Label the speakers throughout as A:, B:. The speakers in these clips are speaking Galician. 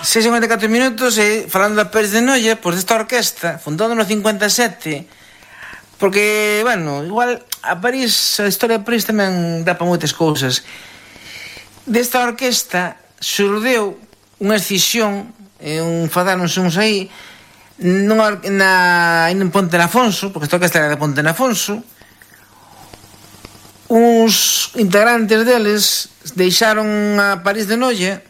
A: 6:54 minutos e falando da Pérez de Noia, pois desta orquesta, fundada no 57, porque, bueno, igual a París, a historia de París tamén dá para moitas cousas. Desta orquesta xurdeu unha escisión, fadáronse uns aí, en Ponte Nafonso, porque esta orquesta era de Ponte Nafonso. Uns integrantes deles deixaron a París de Noia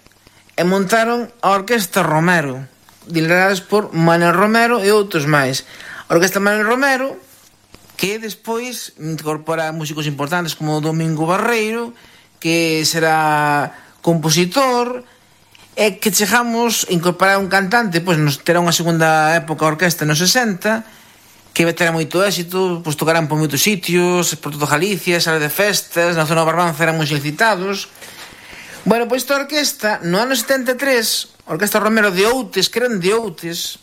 A: e montaron a Orquesta Romero, lideradas por Manuel Romero e outros máis. A Orquesta Manuel Romero, que despois incorpora músicos importantes como Domingo Barreiro, que será compositor, e que chegamos a incorporar un cantante, pois nos terá unha segunda época a orquesta nos 60, que vai ter moito éxito, pois tocarán por moitos sitios, por toda Galicia, sala de festas, na zona de Barbanza eran moi solicitados. Bueno, pois esta orquesta, no ano 73, a Orquesta Romero de Outes, que eran de Outes,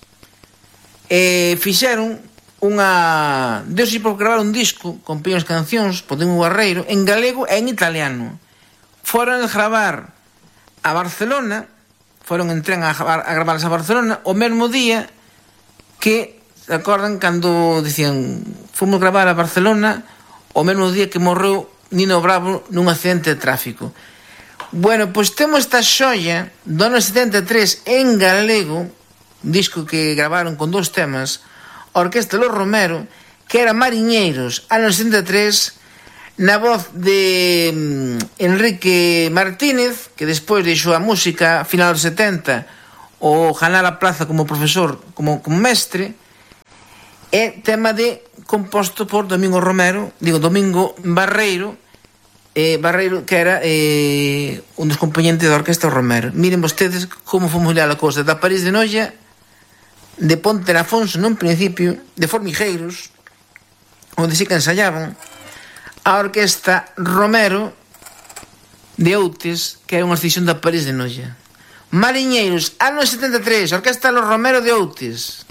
A: fixeron unha... Deus por gravar un disco con pequenas cancións, por Domingo Barreiro, en galego e en italiano. Foron a gravar a Barcelona, foron en tren a gravar a Barcelona, o mesmo día que, se acordan, cando dicían, fomos gravar a Barcelona, o mesmo día que morreu Nino Bravo nun accidente de tráfico. Bueno, pois temos esta xoia do ano 73 en galego, un disco que gravaron con 2 temas, a Orquesta Los Romero, que era Mariñeiros, ano 73, na voz de Enrique Martínez, que despois deixou a música a final dos 70, o ganar a plaza como profesor, como mestre, e tema composto por Domingo Barreiro, que era un dos componentes da Orquesta Romero. Miren vostedes como fomos ler a cousa da París de Noia, de Ponte Nafonso nun principio, de Formigueiros, onde sí que ensayaban, a Orquesta Romero de Outes, que era unha escisión da París de Noia. Mariñeiros, ano 73, Orquesta Los Romero de Outes.